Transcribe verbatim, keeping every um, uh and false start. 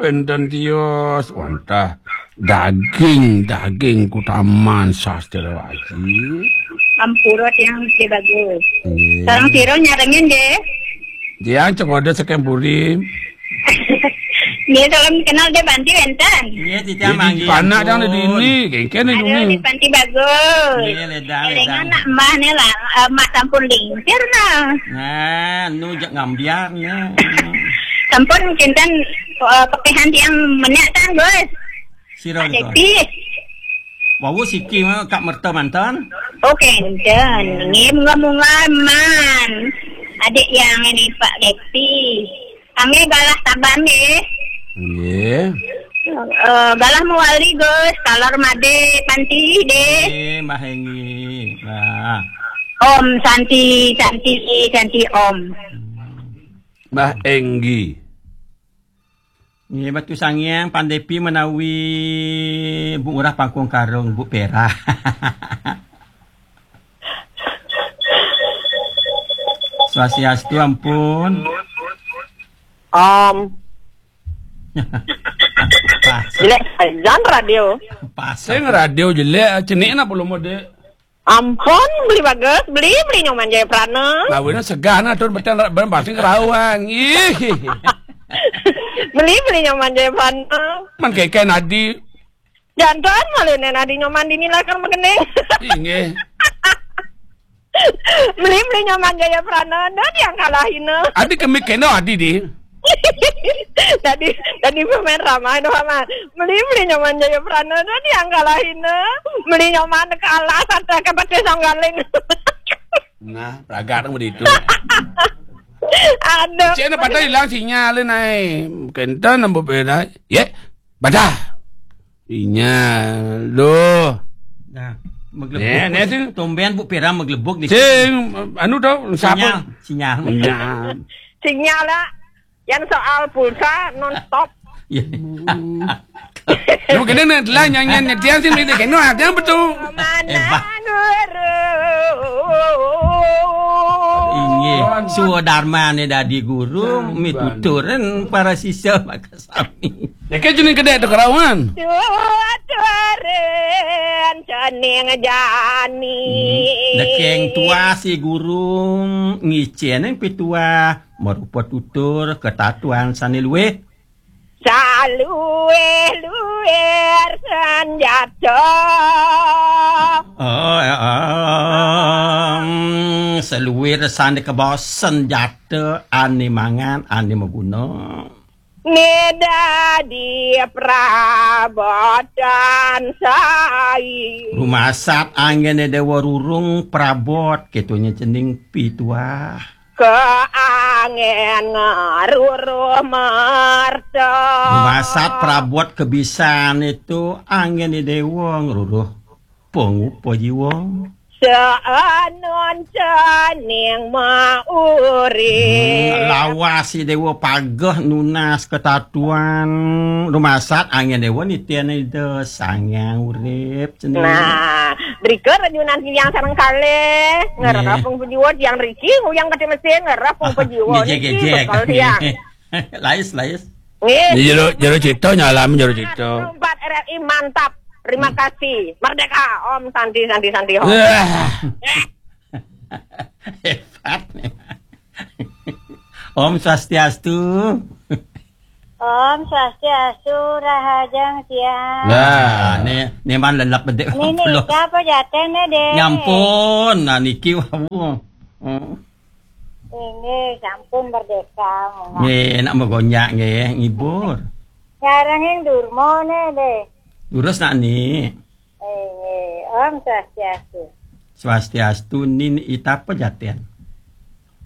Penten tios, wantah daging, daging kutaman sastra wajib. Ampura tiang Gusti Bagus. Nggih. Sareng sira nyarengin, nggih? Tiang Cengkoda saking Puri. Nggih, salam kenal, nggih, Panti wenten. Nggih, titiang. Jadi manggih, panak ampun. Dang di dini, kengken di. Aduh, dini. Di Panti Bagus. Nggih, ledang, elingan ledang. Nak mbah ne lah, eh, mak sampun lingsir nah. Nah, nu jak ngambiar nih. Sampun kinten, eh, pekihan tiang menyak tang, Gus. Sira nika. Depi. Wau siki mah Kak Merta mantan. Oh, kenten. Nggih, munggah-munggah man. Adik yang ini Pak Depi. Kami galah Taban nggih. Nggih. Eh, galah mewali Gus, talar made Panti deh. Nggih, Mbah Enggi. Nah. Om Santi, Santi, Santi Om. Mbah Enggi. Nggih, Batu Sangiang, Pandepi menawi Bu Ngurah Pangkung Karung, Bu Pera. Swastiastu, ampun. Om. Pas. Jelek sajan radio. Pas. Sing radio jelek, cenik nak belum ada. Ampun, beli bagus, beli, beli Nyoman Jaya Prana. Lawina segah nah, tur beten ra-, ben pasti kerauan. Ih. Beli, beli Nyoman Jaya Prana. Man keke nadi. Jantan malu nen adi Nyoman dini lakar makening. Inggih. Beli, beli Nyoman Jaya Prana, dah yang kalahina. Adi kemik kena adi di. Tadi, tadi pemain ramai doh, Mak. Beli, beli Nyoman Jaya Prana, dah yang kalahina. Beli Nyoman kalah, satu ke pakai songgaling. Nah, pragat nang begitu. Aduh. Cik, na patah hilang sinyal ni, nai. Kenten nambah beda. Ye, patah. Sinyal, loh. Nah, maglebuk. Nih, nih, sing. Tumben Bu Pera maglebuk di. Sing, anu tau, siapa? Sinyal, sinyal. Sinyal. Sinyal lah. Yang soal pulsa non stop. Iya. Hmm. Lu kena nak telah nyanyian netian sih, mesti kena, ada apa tu? Mana guru? Inggih, swadarmane dadi guru, mituturen para sisya maka sami. Ya, kan jeneng kedek tu kerawan. Tuturen cening jani. Hmm. Dekeng tuah si guru ngicen pituah marupa tutur ketatuan sane luwih. Saluwih-luwih senjata. Oh, ya, em, saluwih sane kabawa senjata ane mangan, ane maguna. Nida di prabotan sai. Rumasat anggene dewa rurung prabot, ketunya cening pituah. Kaangen ngaruruh marta. Rumasat prabot kebisan itu anggene dewa ngruruh pangupa jiwa. Saanoncaning maurip. Hmm, lawas si dewa pageh nunas ketatuan. Rumasat anggene dewa nitene Ida Sang Hyang Urip sendiri. Nah, drika renyunan tiang sareng kalih, ngererep. Nggih. Pung pejiwa tiang riki, nguyang kati mesin, ngererep pung pejiwa. Ngejek, niki ngejek. Betul tiang. Lais, lais. Nggih. Ini jero, jero cipta, nyalam jero cipta. Empat R R I mantap. Terima kasih. Merdeka. Om Santi, Santi, Santi, Om. Wah. Hebat nih. Om Swastiastu. Om Swastiastu, rahajeng siang. Lah, ne, ne man lelep bedek. Ini nih, siapa jatene, Dek? Nyampun, nah niki wau. Oh. Inggih, sampun merdeka, Mak. Nggih, nak megonyak nggih, ngibur. Nyarengin durma ne, Dek. Durus nak ni. Inggih, Om Swastiastu. Swastiastu, Nin, ita apa jaten?